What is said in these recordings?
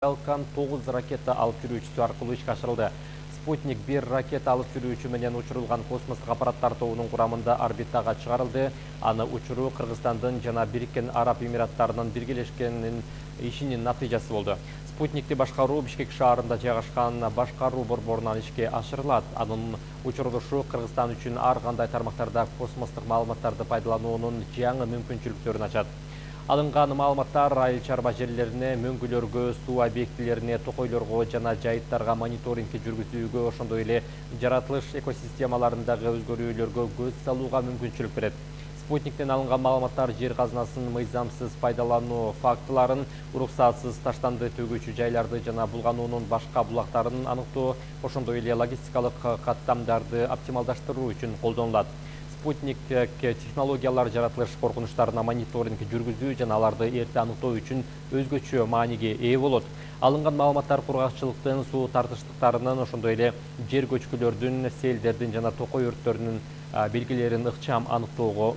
Falcon 9 ракета алып жүрүүчүсү аркылуу ишке ашырылды. Спутник 1 ракета алып жүрүүчү менен учурулган космостук аппараттар тобунун курамында орбитага чыгарылды. Аны учуруу Кыргызстандын жана Бириккен Араб Эмираттарынын биргелешкен ишинин натыйжасы болду. Спутникти башкаруу Бишкек шаарында жайгашкан башкаруу борборунан ишке ашырылат. Анын учурулушу Кыргызстан үчүн ар кандай тармактарда космостук маалыматтарды пайдалануунун жаңы мүмкүнчүлүктөрүн ачат. Алынган маалыматтар айыл чарба жерлерине, мөңгүлөргө, суу объектилерине, токойлорго жана жайыттарга мониторинг жүргүзүүгө, ошондой эле жаратылыш экосистемаларындагы өзгөрүүлөргө көз салууга мүмкүнчүлүк берет. Спутниктен алынган маалыматтар жер казынасын мыйзамсыз пайдалануу фактыларын, уруксатсыз таштанды төгүүчү жайларды жана булгануунун башка булактарын аныктоо, ошондой эле логистикалык каттамдарды оптималдаштыруу үчүн колдонулат. Спутник технологиялар жаратылыш коркунучтарына мониторинг жүргүзүү жана аларды эрте аныктоо үчүн өзгөчө мааниге ээ болот. Алынган маалыматтар кургакчылыктын, суу тартыштыктарынын, ошондой эле жер көчкүлөрдүн, селдердин жана токой өрттөрүнүн белгилерин ыкчам аныктоого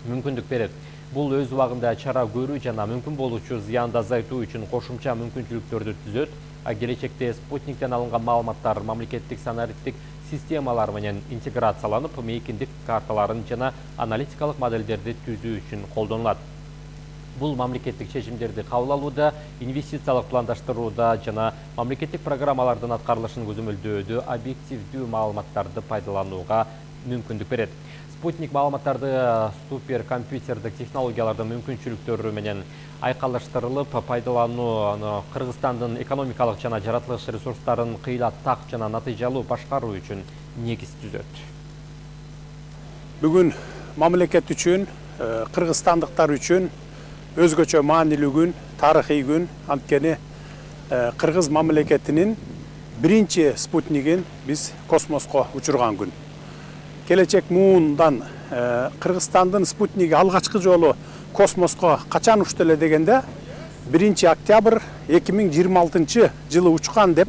мүмкүндүк берет. Бул өз убагында чара көрүү жана мүмкүн болуучу зыянды азайтуу үчүн кошумча мүмкүнчүлүктөрдү түзөт. Келечекте спутниктен алынган маалыматтар мамлекеттик санариттик системалар менен интеграцияланып, мейкиндик карталарын жана аналитикалык модельдерди түзүү үчүн колдонулат. Бул мамлекеттик чечимдерди кабыл алууда, инвестициялык пландаштырууда жана мамлекеттик программалардын аткарылышын көзөмөлдөөдө объективдүү маалыматтарды пайдаланууга мүмкүндүк берет. Спутник маалыматтарды суперкомпьютердик технологиялардын мүмкүнчүлүктөрү менен айкалыштырылып, пайдалануу Кыргызстандын экономикалык жана жаратылыш ресурстарын кыйла так жана натыйжалуу башкаруу үчүн негиз түзөт. Бүгүн мамлекет үчүн, кыргызстандыктар үчүн өзгөчө маанилүү күн, тарыхый күн. Анткени кыргыз мамлекетинин биринчи спутнигин биз космоско учурган күн. Келечек муундан Кыргызстандын спутниги алгачкы жолу космоско качан учту эле дегенде 1 октябрь 2026 жылы учкан деп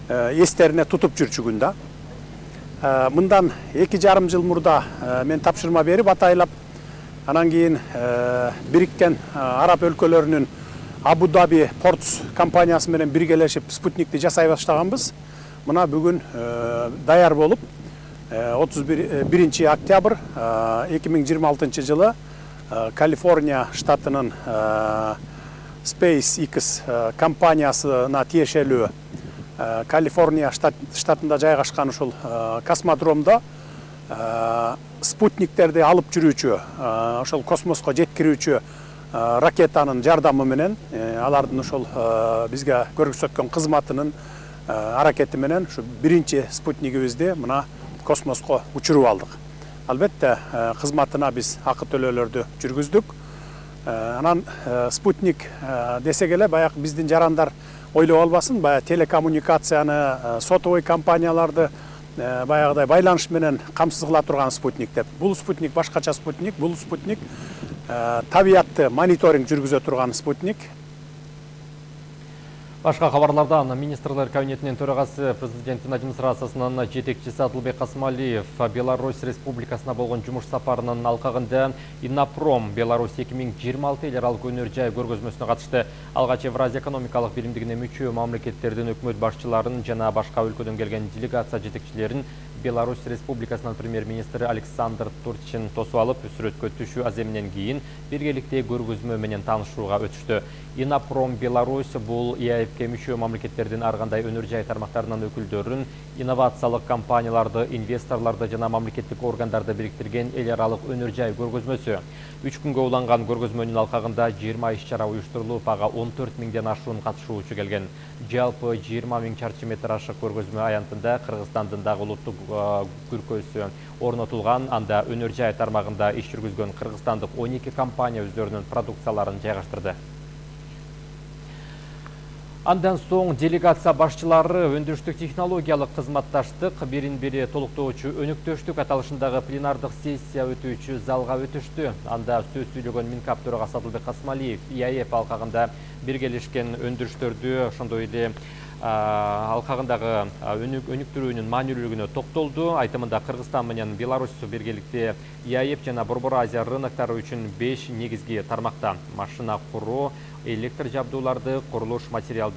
эстерине тутуп жүрчү күн да. Мындан 2,5 жыл мурда мен тапшырма берип атайлап, анан кийин Бириккен Араб өлкөлөрүнүн Абу Даби Портс компаниясы менен биргелешип спутникти жасай баштаганбыз. Мына бүгүн даяр болуп 31 октябрь 2026 жылы Калифорния штатынын SpaceX компаниясына тиешелүү Калифорния штатында жайгашкан ушул космодромдо спутниктерди алып жүрүүчү, ошол космоско жеткирүүчү ракетанын жардамы менен, алардын ушул бизге көрсөткөн кызматынын аракети менен ушу биринчи спутнигибизди мына космоско учуруп алдык. Албетте кызматына биз акы төлөөлөрдү жүргүздүк. Анан спутник десек эле баягы биздин жарандар ойлоп албасын, баягы телекоммуникацияны, сотовый компанияларды баягыдай байланыш менен камсыз кыла турган спутник деп. Бул спутник башкача спутник, бул спутник табиятты мониторинг жүргүзө турган спутник. Башка кабарлардан министрлер кабинетинин төрагасы президенттин администрациясынын жетекчиси Адылбек Касымалиев Беларусь Республикасына болгон жумуш сапарынын алкагында Иннопром Беларусь 2026 эл аралык өнөр жай көргөзмөсүнө катышты. Алгач Евразия экономикалык биримдигине мүчө мамлекеттердин өкмөт башчыларын жана башка өлкөдөн келген делегация жетекчилерин Беларусь Республикасынын премьер-министри Александр Турчин тосуп алып, сүрөткө түшүү аземинен кийин биргеликте көргөзмө менен таанышууга өтүштү. Иннопром Беларусь бул ЕАЭПке мүчө мамлекеттердин ар кандай өнөр жай тармактарынын өкүлдөрүн, инновациялык компанияларды, инвесторлорду жана мамлекеттик органдарды бириктирген эл аралык өнөр жай көргөзмөсү. 3 күнгө уланган көргөзмөнүн алкагында 20 иш-чара уюштурулуп, ага 14 миңден ашуун катышуучу келген. Жалпы 20 000 чарчы метр ашык көргөзмө аянтында Кыргызстандын дагы улуттук күркөсү орнотулган. Анда өнөр жай тармагында иш жүргүзгөн кыргызстандык 12 компания өздөрүнүн продукцияларын жайгаштырды. Андан соң делегация башчылары өндүрүштүк технологиялык кызматташтык, бирин-бири толуктоочу өнүктөштүк аталышындагы пленардык сессия өтүүчү залга өтүштү. Анда сөз сүйлөгөн Минкап төрагасы Адылбек Касымалиев ЕАЭП алкагында биргелешкен өндүрүштөрдү, ошондой эле алкагындагы өнүктүрүүнүн маанилүүлүгүнө токтолду. Айтымында Кыргызстан менен Беларусь биргеликте ЕАЭП жана Борбор Азия рыноктары үчүн 5 негизги тармакта машина куруу, электр жабдууларды, курулуш материалдарын